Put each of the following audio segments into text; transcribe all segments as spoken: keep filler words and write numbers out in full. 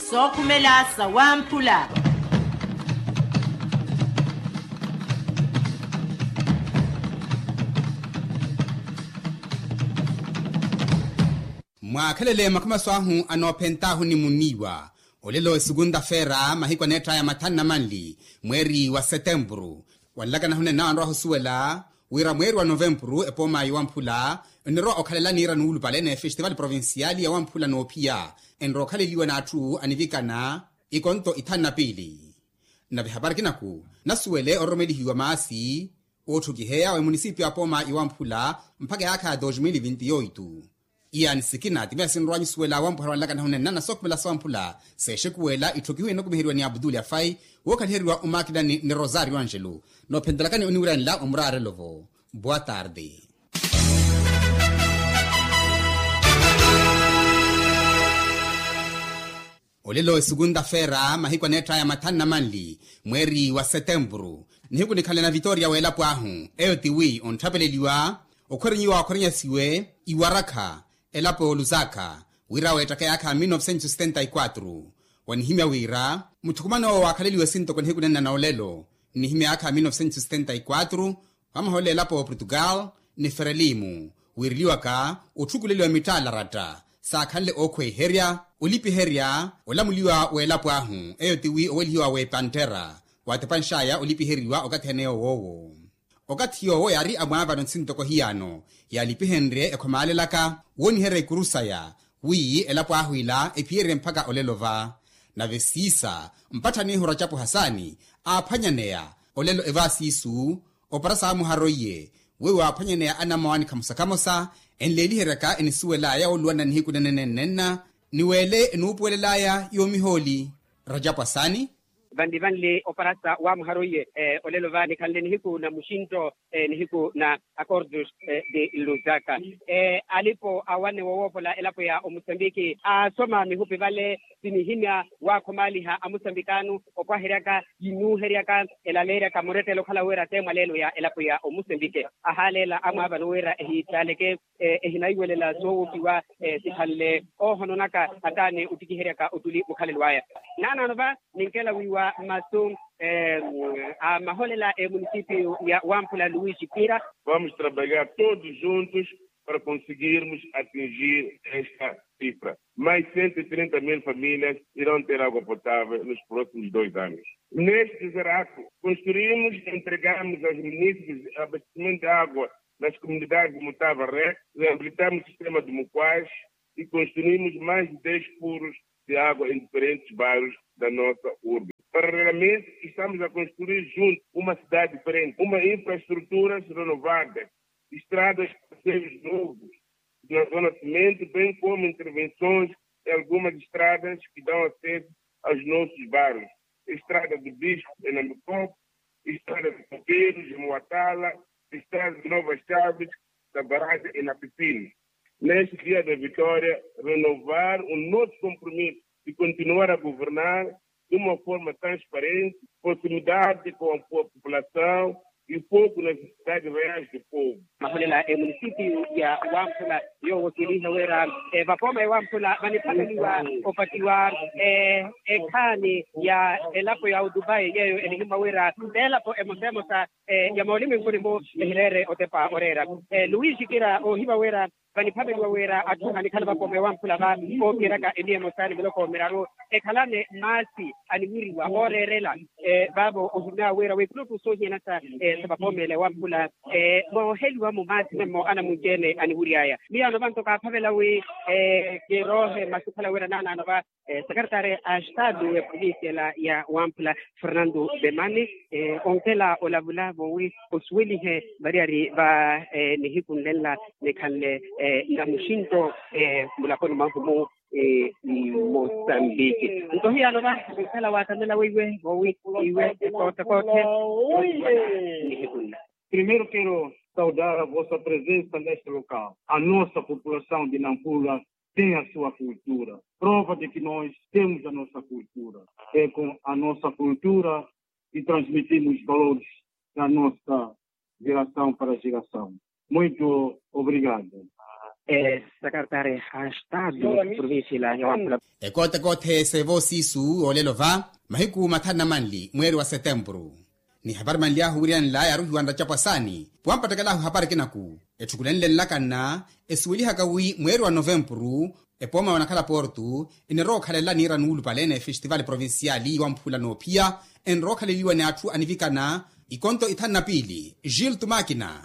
Sookhumela sawamphula. Mwaakhelele makhamaso ahu anoophent'ahu ni muniiwa. Olelo esukunta-feera mahiku aneetth'aya mathanu na manli mweeri wa setempuru, wanlakana hunene nawe anrowa ohusuwela wira mweeri wa novempuru epooma yowamphula enrowa okhalela niira nuulupale n'efestival provincial yawamphula n'ophiya enrowa okhaleliwa n'atthu anivikana ikonto ithanu na piili. Nave hapari kinaku nasuwele ororomelihiwa maasi ootthukiheya wa emunisipiyu apooma yowamphula mpakha eyaakha ya dos mil vinti oitu. Iyaani sikina ti miya sinrowa nyusuwela wampuhara wanlakana hunene nana sookhumela sawamphula seexekuwela itthokihiwe enokumiheriwa ni abdul afai wookhaliheriwa omakilani ni rosario angelo. Noophentelakani oniwiranela omuraarelo-vo. Boa tarde. Olelo esukunta-feera mahiku aneetth'aya mathanu na manli mweeri wa setempuru nihiku nikhanle na vitoria w'elapo ahu eyo tiwi ontthapeleliwa okhwerenyiwa okhwerenyasiwe iwarakha elapo y'olusaka wira weettaka yaakha ya mil novecentos setenta y quatro. Wanihimya wira muthukuman'owo waakhaleliwe sintoko nihiku nenna n'olelo nnihimya yaakha ya mil novecentos setenta y quatro wamaholela elapo y'oportugal ni ferelimu wiireliwaka otthukuleliwa mittaalaratta saakhanle ookhweiherya olipiherya olamuliwa w'elapo ahu eyo tiwi owelihiwa w'epantera waatepanx'aya olipiheriwa okathi ene yowoowo. Okathi yoowo yaari amwaavano ntsi ntoko hiyano yaalipihenrye ekhomaalelaka wooniherya ikuru saya wi elapo ahu ila ephiyerye mpakha olelo va. Nave siisa mpatthani ihu racapu hasaani aaphwanyaneya olelo evaasiisu opara saamuhara oiye weiwo aaphwanyaneya anamwaani khamosa khamosa enleeliheryaka enisuwel'aya wooluwanana nihiku nenenenenna ni weele enuupuwelel'aya yoomihooli racapu hasaani. Vanli vanli oparasa waamuhara oiye olelo va nikhanle nihiku na muxinto nihiku na acordos de lusaka alipo awane wowoopola elapo ya omusambiki aasoma mihupi vale sinihimya waakhomaaliha amusambikaano opwaheryaka yinuuheryaka elaleeryaka murettelo okhala wira te mwaleelo ya elapo ya omusambiki ahaaleela amwaavano wira ehiitaaleke ehinaiwelela soowokiwa sikhanle oohononaka ataani ottikiheryaka ottuli mukhalelo aya. Naanaano va ninkela wiiwa masu a maholela emunisipiyu ya wamphula luis kira. Vamos trabalhar todos juntos para conseguirmos atingir esta cifra mais cento e trinta mil famílias irão ter água potável nos próximos dois anos. Neste zerato construímos e entregamos aos munícipes abastecimento de água nas comunidades de mutava rec, reabilitamos o sistema de muquais e construímos mais de dez furos de água em diferentes bairros da nossa urbe. Paralelamente estamos a construir junto uma cidade diferente uma infraestruturas renovadas, estradas, parceiros novos de zona cimento bem como intervenções em algumas estradas que dão acesso aos nossos bairros, estrada de bisco em nambikop, estrada de copeiros em muatala, estrada de novas chaves da barragem em napipini. Neste dia da vitória renovar o nosso compromisso de continuar a governar de uma forma transparente, proximidade com a população e foco nas necessidades reais do povo. Maholela emunisipiyu ya wamphula yoowo kiiniiha wira vapooma ya wamphula vaniphaleliwa opatiwa ekhaani ya elapo ya odubai yeeyo enihimwa wira t'elapo emosa emosa ya mooliminkuni-mu ehireere otepa oreera luis kira oohiva wira vaniphaveliwa wira atthu anikhala vapooma ewamphula va ookiryaka emiya emosa ni miloko miraru ekhalane maasi aniwiriwa ooreerela vaavo ohimeya wira w'ekulottu soohiyanasa sa vapooma ele ewamphula mooheliwa-mo maasi memmo anamunci-ene aniwiry'aya miyaano vanto kaaphavela wi kiroohe masu khala wira naanaano va sekaretari a estadu ya provincia ela ya wamphula fernando demani onkela olavula vowi osuwelihe variyari va nihiku nlenla nikhanle na muxinto mulaponi mwahu-mu mosambiki nto hiyano va onkela waatamela weiwe vowi iwe ekootekoothe nihiku nla. Primero quero saudar a vossa presença neste local a nossa população de nampula tem a sua cultura prova de que nós temos a nossa cultura é com a nossa cultura e transmitimos valores da nossa geração para geração muito obrigado. Esekaretari ha estado provincia ila ya wampula. Ekootekoothe seevo siisu olelo va mahiku mathanu na manli mweeri wa setempuru. Ni hapari manli ahu wiriyanela yaaruhiwa nracapu asaani. Wampattekelahu hapari kinaku etthukulenle nlakanna esuwelihaka wi mweeri wa novempuru epooma wanakhala portu enirowa okhalela niira nuulupale ni efestival provincial yiwamphula noophiya enrowa okhaleliwa ni atthu anivikana. Ikonto ithanu na piili gil tumakina.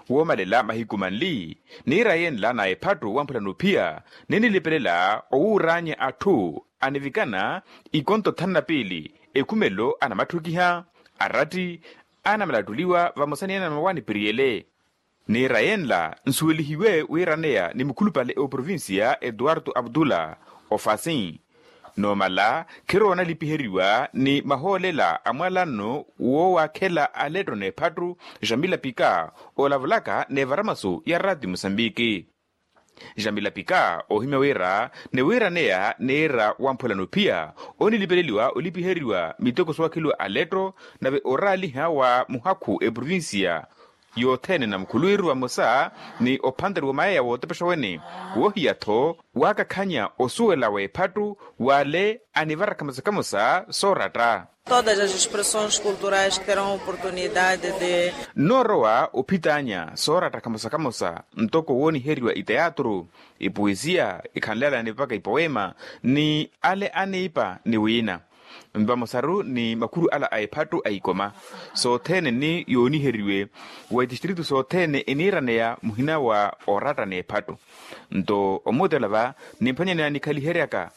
Woomalela mahiku manli niira yenla na ephattu wamphula noophiya ninilipelela owuuraanya atthu anivikana ikonto thanu na piili ekhumelo anamatthukiha aratti anamalattuliwa vamosa ni anamawaani piriyele. Niira yenla nsuwelihiwe wiiraneya ni mukhulupale oprovincia eduardo abdullah ofasi noomala khiroona lipiheriwa ni mahoolela a mwalanno woowakhela aletto n'ephattu jamila pika olavulaka n'evaramasu ya rati musambiki. Jamila pika oohimya wira niwiiraneya niira wamphula noophiya onilipeleliwa olipiheriwa miteko soowakheliwa aletto nave oraaliha wa muhakhu eprovincia yothene na mukhuluwiru vamosa ni ophanteriwa mayeya wootepexa wene woohiya-tho waakakhanya osuwela w'ephattu w'ale anivara khamosa khamosa sooratta. Todas as expressões culturais que terão oportunidade de noorowa ophitaanya sooratta khamosa khamosa ntoko wooniheriwa iteatru ipuwisiya ikhanlelani mpakha ipoweema ni ale aniipa ni wiina vamosaru ni makhuru ala a ephattu a ikoma sothene ni yooniheriwe wa itistritu sothene eniiraneya muhina wa oratta n'ephattu. Nto omuutela va nimphwanyaneya nikhaliheryaka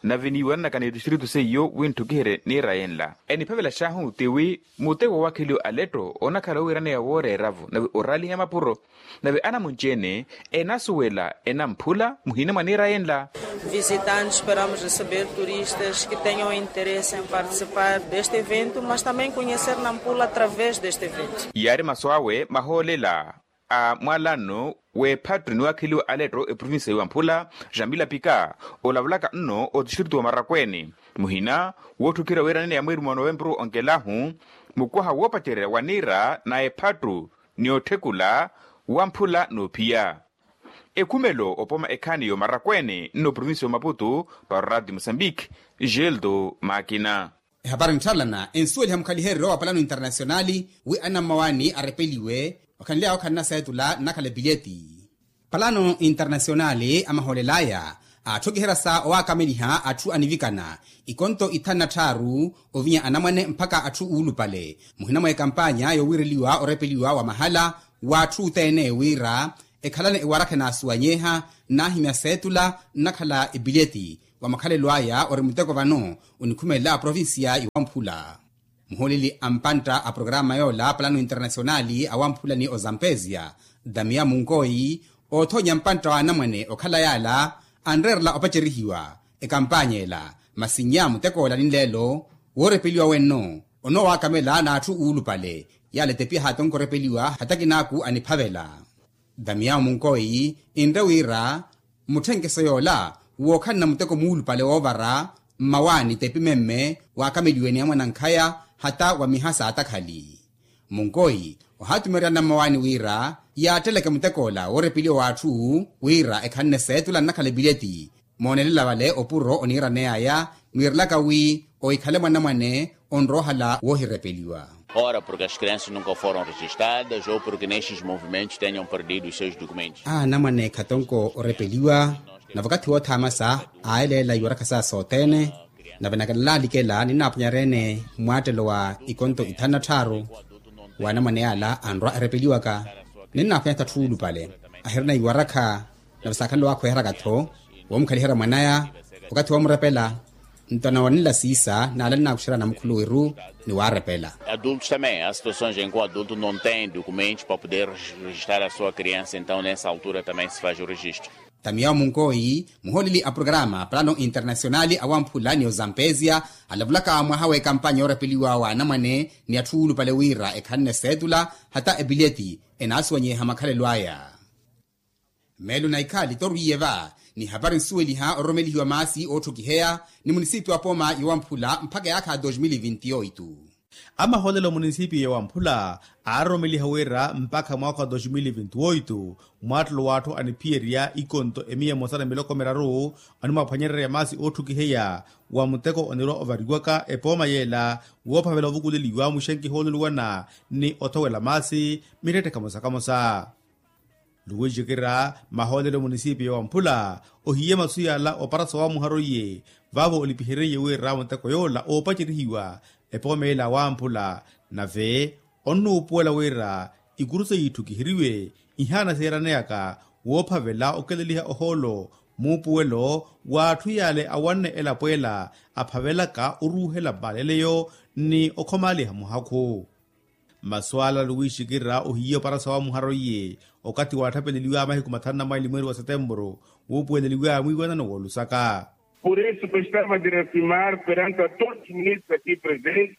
nave niiwananaka n'etistritu seiyo winthukiherye niira yenla eniphavela xaahu tiwi muteko woowakheliwa aletto onakhala owiiraneya wooreera-vo nave oraaliha mapuro nave anamunci-ene enasuwela enamphula muhina mwa niira yenla. Visitante esperamos receber turistas que tenham interesse em participar deste evento mas também conhecer nampula através deste evento. Yaari masu awe mahoolela a mwalanno w'ephattu niwakheliwa aletto eprovinsia yiwamphula jamila pika olavulaka nno otistritu wa marakweene muhina wootthukira wiiraneya mweeri mwa novempuru onkelahu mukwaha woopacererya wa niira na ephattu ni otthekula wamphula noophiya. Ekhumelo opooma ekhaani y'omarakweene nno provincia y'omaputu para orati musambiki geldo makina. Ehapari ntthalana ensuweliha mukhaliheryo wa palano internasionali wi anammawaani arepeliwe okhanly'aya okhanna seetula nnakhala epileti. Palano internasionali amahoolel'aya aatthokiheryasa owaakameliha atthu anivikana ikonto ithanu na tthaaru ovinya anamwane mpakha atthu uulupale muhina mwa ekampanya yoowiireliwa orepeliwa wa mahala w'atthu othene wira ekhalane ewarakha enaasuwanyeha nnahimya seetula nnakhala epileti wa makhalelo aya ori muteko vano onikhumelela aprovincia yiwamphula. Muhooleli a mpantta a programa yoola palano internasionali awamphula ni ozampezia damiya munkoyi oothoonya mpantta wa anamwane okhala yaala anreerela opacerihiwa ekampanya ela masi nnya mutek'ola ni nleelo woorepeliwa wenno onoowakamela n'atthu uulupale yaala etepi ahaatonka orepeliwa hata kinaaku aniphavela. Damiya munkoyi enre wira mutthenkese yoola wookhanna muteko muulupale woovara mmawaani tepi memme waakameliwe ni amwanankhaya hata wa miha saatakhali. Munkoyi ohaatumerya anammawaani wira yaatteleke mutek'ola woorepeliwa w'atthu wira ekhanne seetula nnakhala epileti moonelela vale opuro oniiraney'aya nwiirelaka wi ohikhale mwanamwane onroohala woohirepeliwa. Ora porque as crianças nunca foram registadas ou porque nestes movimentos tenham perdido os seus documentos. Anamwane khatonko orepeliwa na vakathi woothaamasa aaleela iwarakha saya sothene. Nave nakalalalikela ninaaphwanyarya-ene mmwaattelo wa ikonto ithanu na tthaaru wa anamwane yaala anrwa erepeliwaka. Ninaaphwanya tha atthu uulupale ahirina iwarakha nave saakhanle waakhweheraka-tho woomukhaliherya mwan'aya wakathi woomurepela. Nto nawanela siisa naala ninaakuxerya namukhuluwiru ni waarepela. Adultos também há situações em que o adulto não tem documentos para poder registrar a sua criança então nessa altura também se faz o registro. Tamiya omunkoyi muhooleli a programa plano internasionali awamphula ni ozampezia alavulaka mwaha w'ekampanya yoorepeliwa wa anamwane ni atthu uulupale wira ekhanne seetula hata epileti enaasuwanyeha makhalelo aya. Meelo na ikhaali torwiiye va ni hapari nsuweliha ororomelihiwa maasi ootthokiheya ni munisipi wa pooma yowamphula mpakha eyaakha dos mil vinti oitu. Amahoolelo a munisipiyo ya wamphula aaroromeliha wira mpakha mwaakha wa dos mil vinti oito, mwaattelo w'atthu aniphiyerya ikonto emiya emosa na miloko miraru, animwaaphwanyererya maasi ootthukiheya wa muteko onirwa ovariwaka epooma yeela woophavela ovukuleliwa muxenkiha ooluluwana ni othowela maasi mittetthe kamosa-kamosa. Luwixikira mahoolelo munisipiyo wa mphula ohiye masu yala opara sawaamuharo iye, vaavo olipihereiye wira muteko yoola oopacerihiwa epooma ela wa mphula. Nave onnuupuwela wira ikuru seiye itthukiheriwe ihaana seeraneyaka woophavela okeleliha ohoolo muupuwelo w'atthu yale awanne elapo ela aphavelaka oruuhela mmaleleyo ni okhomaaliha muhakhu. Masu ala luwixikira ohiye opara sawaamuharo iye okathi waatthapeleliwaya mahiku mathanu na maili mweeri wa setempuru wuupuweleliwaya mwiiwanano w'olusaka. Por isso gostava de reafirmar perante a todos os ministros aqui presentes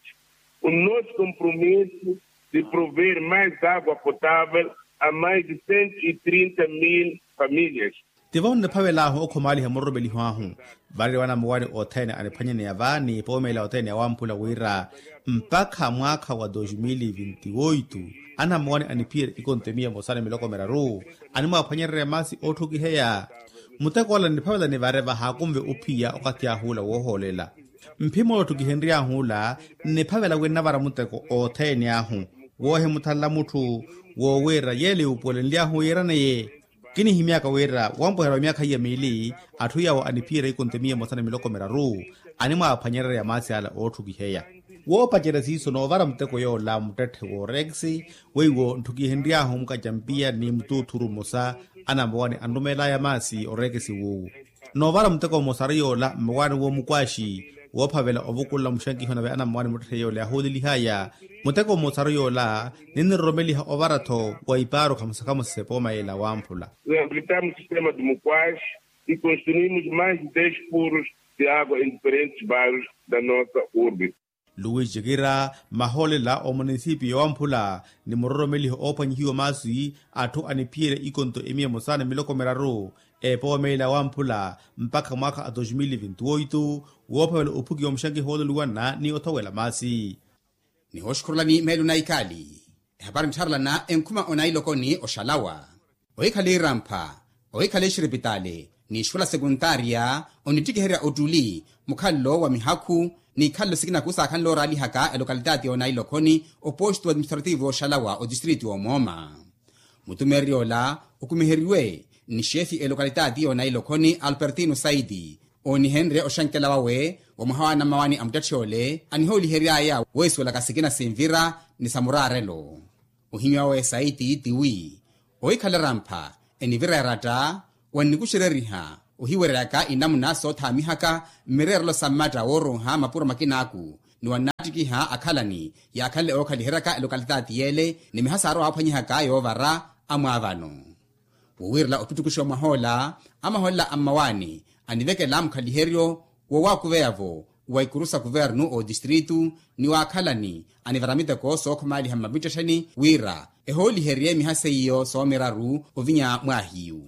o nosso compromisso de prover mais água potável a mais de cento e trinta mil famílias. Tivo nniphavel'ahu okhomaaliha muroromeliho ahu. Varerya wa anamowani othene aniphwanyaneya vaani poomela othene ya wamphula wira mpakha mwaakha wa dos mil vinti oito, anamowani aniphiyerya ikonto emiya emosa ni miloko miraru animwaaphwanyererya maasi ootthukiheya. Muteko ola nniphavela nivare vahaakunve ophiya okathi ah'ula woohoolela. Mphim'ola otthukihenry'ahu ola nniphavela wi nnavara muteko othene ahu woohimuthanla mutthu woowira yeele yuupuwelenly'ahu yiiraneye. Kinihimyaka wira wampweherya wa myaakha iya miili atthu yawo aniphiyerya ikonto emiya emosa ni miloko miraru animwaaphwanyererya maasi ala ootthukiheya. Woopacerya siiso noovara muteko yoola muttetthe w'orekisi weiwo ntthukihenry'ahu mukacampiya ni mutuuthuru mmosa anamowani anrumeel'aya maasi orekisi wuuwu. Noovara muteko mmosa ari yoola mmawaani w'omukwaxi woophavela ovukulela muxankiho nave anammawaani muttetthe yoola yahoolelihaya. Muteko mmosa ari yoola ninniroromeliha ovara-tho wa ipaaru khamosa-khamosa s'epooma yeela wamphula. Reabilitamos sistema de mukwaaxi e construímos mais de dez furos de água em diferentes bairros da nossa urbe. Luwixikira mahoolela omunisipiyo wamphula ni muroromeliho oophwanyihiwa maasi atthu aniphiyerya ikonto emiya emosa ni miloko miraru epooma ela wamphula mpakha mwaakha a dos mil vinti oito woophavela ophukiwa muxankiho wooluluwana ni othowela maasi. Nihooxukhurulani meelo na ikali ehapari nttharelana enkhuma onailokoni oxalawa. Ohikhala irampha, ohikhala exiripitaali n'ixikola sekuntaariya onittikiherya ottuli mukhalelo wa mihakhu n'ikhalelo sikina khusaakhanle oraalihaka elokalitati y'onailokhoni, oposto administrativo oxalawa otistriti y'omooma. Mutumeererya ola okumiheriwe ni xeefi elokalitati y'onailokhoni alpertino saiti oonihenrye oxankela wawe wa mwaha w'anamawani a muttetthe ole anihoolihery'aya weesuwelaka sikina sinvira ni sa muraarelo. Ohimya wawe saiti tiwi ohikhala erampha enivira eratta wannikuxereriha ohiwereryaka inamuna soothaamihaka mmireerelo sa mmatta wooronha mapuro makinaku ni wannaattikiha akhalani yaakhanle ookhaliheryaka elokalitati yeele ni miha saarowa aphwanyihaka yoovara amwaavano. Wowiirela ottuttukuxiwa mwahoola amahoolela a mmawaani anivekela mukhaliheryo woowakuveya-vo wa ikuru sa kuvernu otistritu ni waakhalani anivara miteko sookhomaaliha mmamittettheni wira ehooliherye miha seiyo soomiraru ovinya mwaahiyu.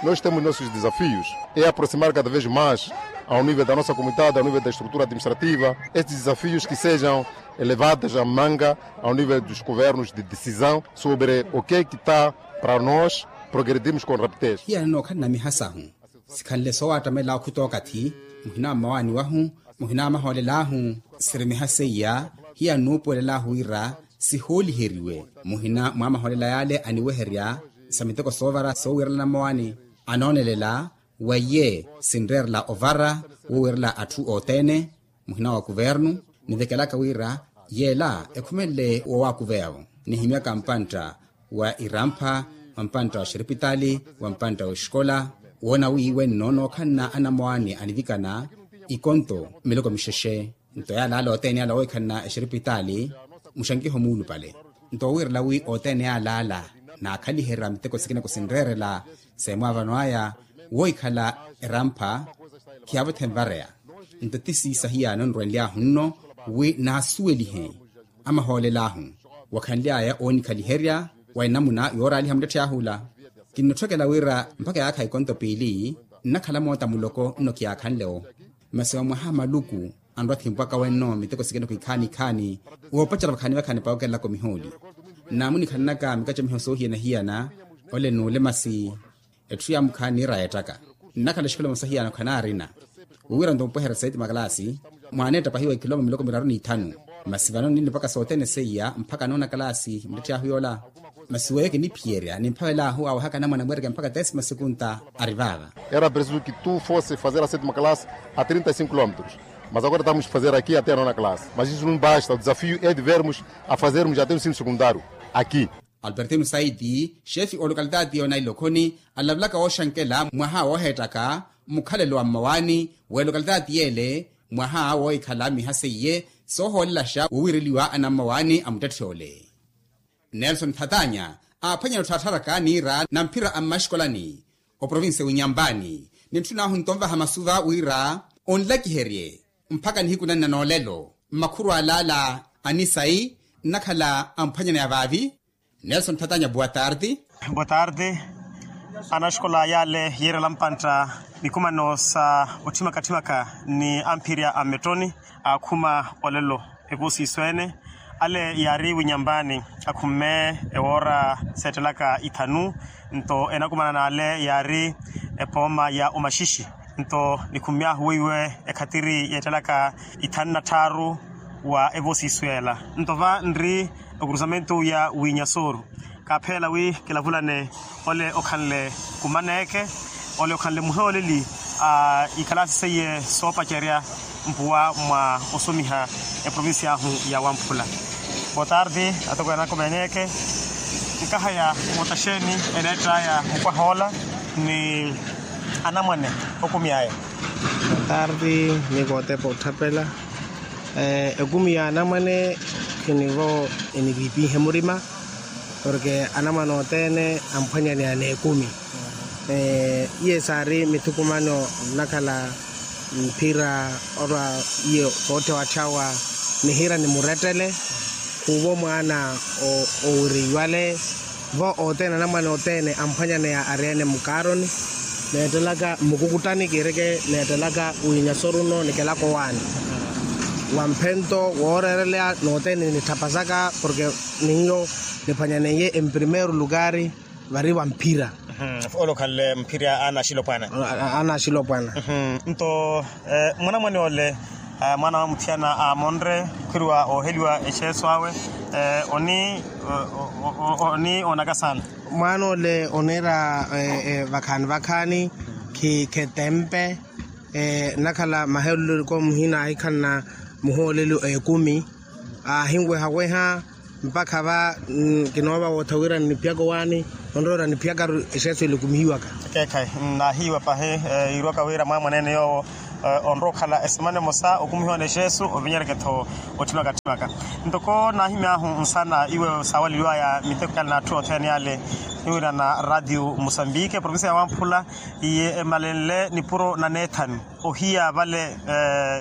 Nós temos nossos desafios é aproximar cada vez mais ao nível da nossa comunidade, ao nível da estrutura administrativa estes desafios que sejam elevados a manga ao nível dos governos de decisão sobre o que é que está para nós progredirmos com rapidez. Hiyana nookhalana miha sahu sikhanle soowattamela okhuta okathi muhina mmawaani wahu muhina mahoolel'ahu siri miha seiya hiya nuupuwelel'ahu wira sihooliheriwe muhina mwa mahoolela yale aniweherya sa miteko soovara soowiirelana mmawaani anoonelela weiye sinreerela ovara woowiirela atthu othene muhina wa kuvernu nivekelaka wira yeela ekhumenle woowakuveya-vo nihimyaka mpantta wa irampha wa mpantta wa xiripitaali wa mpantta wa exikola woona wi wenno nookhalana anamwaani anivikana ikonto miloko mixexe nto yaalaala othene ala woohikhalana exiripitaali muxankiho muulupale nto wowiirela wi othene yaalaala naakhaliherya miteko sikina kusinreerela seemwaavano aya woohikhala erampha khiyaavothe nvareya nto ti siisahiyaano nrwenly'ahu nno wi naasuwelihe amahoolel'ahu wakhanly'aya oonikhaliherya wa enamuna yooraaliha muttetthe ahu ola kinnotthokela wira mpakha yaakha ikonto piili nnakhala moota muloko nno kiyaakhanle-wo masi wa mwaha maluku anrwa thimpwaka wenno miteko sikene khwikhaani ikhaani. Woopacerya vakhaani vakhaani pawokelelaka omihooli. Naamunikhananaka mikacomiho soohiyana-hiyana. Ole n'ule masi etthu yaamukhaani niira yeettaka. Nnakhala exikholoma sahiyana khanaarina. Wiiwiranto mupweherya saiti makalaasi. Mwaana eetta pahiwa ikiloma miloko miraru n'ithanu. Masi vano ninnipaka sothene seiya mpakha noona kalaasi muttetthe ahu yoola. Masi weyo kiniphiyerya nimphawelahu awehaka anamwane amweereke mpakha tesima sekunta. Ari vaava. Era preciso ki tu fosse fazer a setima classe a trinta e cinco kilómetros. Mas agora estamos a fazer aqui até a nona classe mas isso não basta o desafio é de vermos a fazermos até o ensino secundário aqui. Albertino saiti xefi olokalitati yoonaila okhoni, alavelaka wooxankela mwaha wooheettaka mukhalelo wa mmawaani w'elokalitati yeele. Mwaha woohikhala miha seiye soohoolelaxa wowiireliwa anammawaani a muttetthe ole. Nelson thatanya aaphwanyana otthaattharaka niira na mphira a mmaxikolani oprovincia winyampani. Nintthun'ahu nto onvaha masuva wira onlakiherye mpakha nihiku nanna noolelo mmakhuru alaala anisayi nnakhala amphwanyana ya vaavi. Nelson thatanya boa tarde. Boa tarde. Anaxikola yaale yiirela mpantta mikumano sa otthimaka-tthimaka ni amphirya a mmettoni aakhuma olelo evoosiso ene. Ale yaari winyampani akhumme ewoora seettelaka ithanu. Nto enakumana n'ale yaari epooma ya omaxixi. Nto nikhummy'ahu weiwe ekhatiri yeettelaka ithanu na tthaaru wa evoosiso yeela. Nto va nri okurusamentu ya wiinyasoru kaapheela wi kilavulane ole okhanle kumaneeke ole okhanle muhooleli a ikalaasi seiye soopacerya mpuwa mwa osomiha eprovincia ahu ya wamphula. Boa tarde. Atoko anakomeneeke nkahaya mootaxeeni eneett'aya mukwaha ola ni anamwane okumy'aya. Boa tarde. Ni kootepa otthapela ekumi ya anamwane khinivo eniviipihe murima. Porke anamwane othene amphwanyaneya n'ekumi. Iye saari mithukumano nnakhala mphira orwa iye sootthe watthawa nihira ni murettele khuuvo mwaana owireiwale. Vo othene anamwane othene amphwanyaneya ari ene mukaaroni neettelaka mmukukuttani kiireke neettelaka wiinyasoruno nikelaka owaani wa mphento wooreereleya nothene nitthapasaka porke ninyo niphwanyaneiye emprimeiro lukari vari va mphira. Ole okhanle mphira aana axilopwana. Aana axilopwana. Nto mwanamwane ole mwaana wa muthiyana aamonre okhweriwa ooheliwa exeeso awe. Oni oni oonaka saana. Mwaana ole oniira vakhaani vakhaani khikhetempe nnakhala maheloloko muhina ahikhanna muhooleli ekumi aahinwehaweha mpakha va kinoova wootha wira nniphiyaka owaani onrowa wira nniphiyakaru exeeso elikumihiwaka. Ekeekhayi nnaahiiwa pahi yiirwaka wira mwaamwaneene yoowo onrowa okhala esemana emosa okumihiwa n'exeeso ovinyereke-tho otthimaka-tthimaka. Ntoko naahimy'ahu nsana iwe saawaleliwaya miteko yale n'atthu othene yale niwirana ratio musambike provincia ya wamphula iye emalenle nipuro na neethani ohiya vale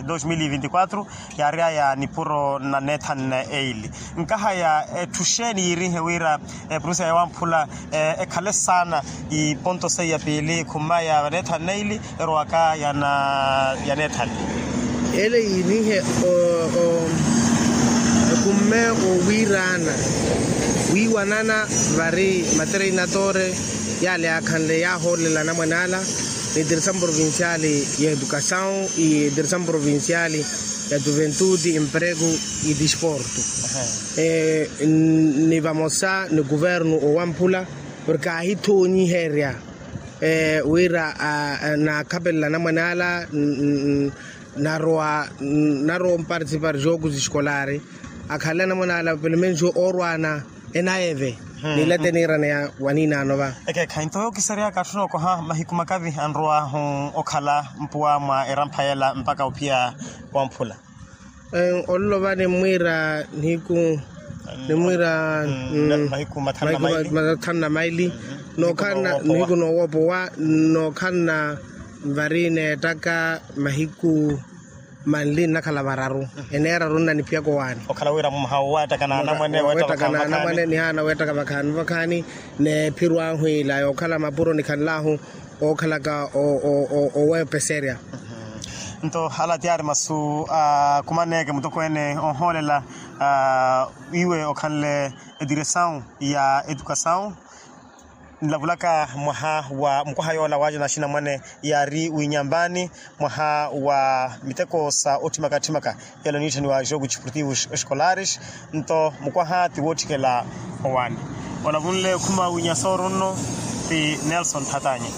dos mil e vinti quatro yaary'aya nipuro na neethani na eili. Nkahaya etthu xeeni yiirihe wira eprovincia ya wamphula ekhale saana iponto seiya piili khummaya va neethani na eili erowaka ya neethani. Ele yiinihe ekumme owiiraana wiiwanana vari matereinatore yale yaakhanle yaahoolela anamwane ala ni diresamu provinciali ya edukasawu ni diresamu provinciali ya juventuti emprego ni disporto ni vamosa ni kuvernu owamphula porke aahithoonyiherya wira naakhapelela anamwane ala narowa narowa omparticipar jogos escolares akhanle anamwane ala pelo menos oorwaana enayeve nilate niiraneya waninaano va. Ekeekhayi nto yookiseryaka atthu nookoha mahiku makavi anrow'ahu okhala mpuwa mwa erampha yela mpakha ophiya wamphula. Ololo va nimmwiira nihiku nimmwiira mahiku mathanu na maili nookhala nihiku noowoopowa nookhala vari neettaka mahiku manli nnakhala vararu eneeraru nnaniphiyaka owaani okhala wira mumhawu waattaka na anamwane weettaka na anamwane nihaana weettaka vakhaani vakhaani n'ephiro ahu ila yookhala mapuro nikhanl'ahu ookhalaka oweepeserya. Nto ala tiyari masu akumaneke mutokweene ohoolela iwe okhanle ediresawu ya etukasawu. Nilavulaka mwaha wa mukwaha yoola waaja na axinamwane yaari winyambani mwaha wa miteko sa otthimaka-tthimaka yala oniitthaniwa jogo desportivo escolares. Nto mukwaha ti wootthikela owaani olavunle okhuma winya sooro nno ti nelson thatanya.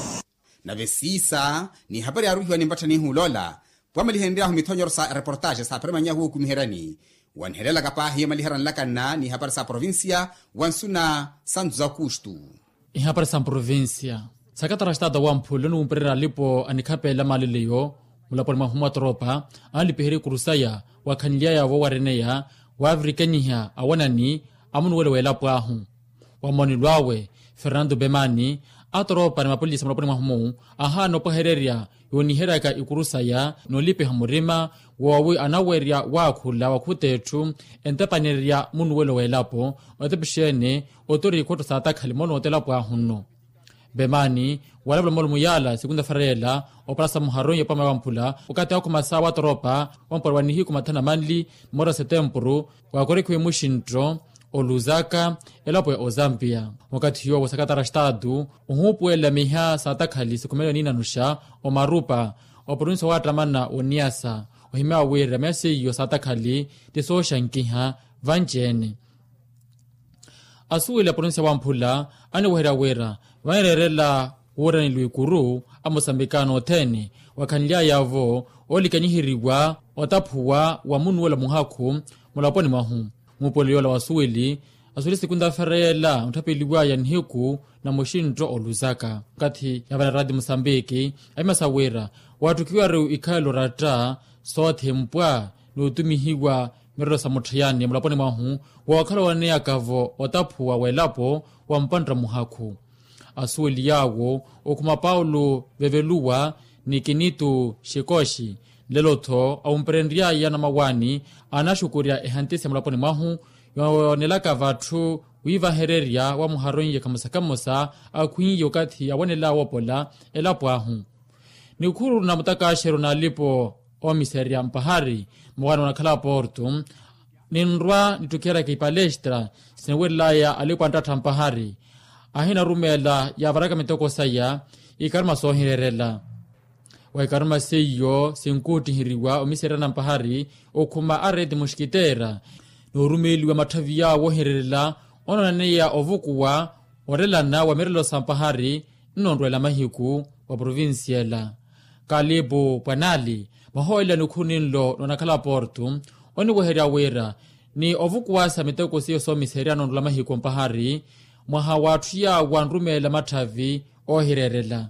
Nave siisa n'ihapari yaaruhiwa ni mpattha nihulola pwamalihenry'ahu mithonyoro sa reportaaxe sa parimanyahu wookumiheryani. Wanihelelaka paahi yamaliherya nlakanna n'ihapari sa provincia wa nsuna sa nzu za kustu. Ihapari sa mprovincia sakatara xitaata wa mphula oniwumpererya alipo anikhapeela maaleleyo mulaponi mwahu mwa toropa anlipiherya ikuru saya wakhanly'aya-vo wareneya waavirikanyiha awanani a munuwelo w'elapo ahu. Wa moonelo awe fernando pemani atoropa ni mapolisa mulaponi mwahu-mu ahaana opwehererya yooniheryaka ikuru saya n'olipiha murima woowi anawerya waakhula wakhuta etthu entepanererya munuwelo w'elapo. Otepe xeene otori ikhotto saatakhali moonooto elapo ahu nno. Pemani walavula moolumo yaala sikunta fereela opalasa muharon ya pwamela wa mphula wakathi akhuma saawa atoropa wampwala wa nihiku mathanu na manli moora setempuru wakorekhiwe muxintto oluzaka elapo ya ozambia. Wakathi yoowo sakatara xitaatu ohuupuwelela miha saatakhali sikhumelo niinanuxa omarupa oprovinsi owaattamana woniasa ohimya wira miha seiyo saatakhali ti sooxankiha vanci-ene. Asuweli a provinsiya wa mphula aniweherya wira vanireerela wuuraneliwa ikuru a mosambikano othene wakhanly'aya-vo oolikanyiheriwa otaphuwa wa munuwela muhakhu mulaponi mwahu. Muupuwelo yoola wa asuweli asuweli sikunta fereela ontthapeliwaya nihiku na muxintto oluzaka okathi yaavala raati mosambiki aimasa wira waatthukiwaru ikhalelo ratta soothempwa n'utumihiwa mirelo sa mutthiyani mulaponi mwahu wookhala owaneyaka-vo otaphuwa w'elapo wa mpantta muhakhu. Asuweli yaawo okhuma paulo veveluwa ni kinitu xikoxi nlelo-tho awumperenry'aya namawaani aanaxukurya ehantisi ya mulaponi mwahu yoonelaka vatthu wiivahererya wa muharonye kamosa kamosa akhwiiye okathi awanel'awe opola elapo ahu. Nikhuru na mutakaxero n'alipo oomiserya mpahari mwawaani onakhala porto ninrwa nittukiheryaka ipalestra siniwerel'aya alipo anttattha mpahari ahinarumeela yaavaraka mitoko saya ikaruma soohireerela. Wa ikaruma seiyo sinkuuttiheriwa omiseryana mpahari okhuma a reti muxkiteera noorumeeliwa matthavi yaawo ohireerela onoonaneya ovukuwa orelana wa mirelo sa mpahari nnoonrweela mahiku wa provincia ela. Kalipu pwanali mwahoolela nikhuru ninlo noonakhala porto oniweherya wira ni ovukuwasa miteko seiyo soomiserya noonrweela mahiku mpahari mwaha w'atthu yaawo anrumeela matthavi oohireerela.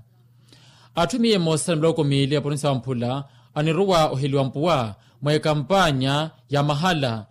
Atthu miya emosa ni miloko miili a provincia wa mphula aniruwa oheliwa mpuwa mwa ekampanya ya mahala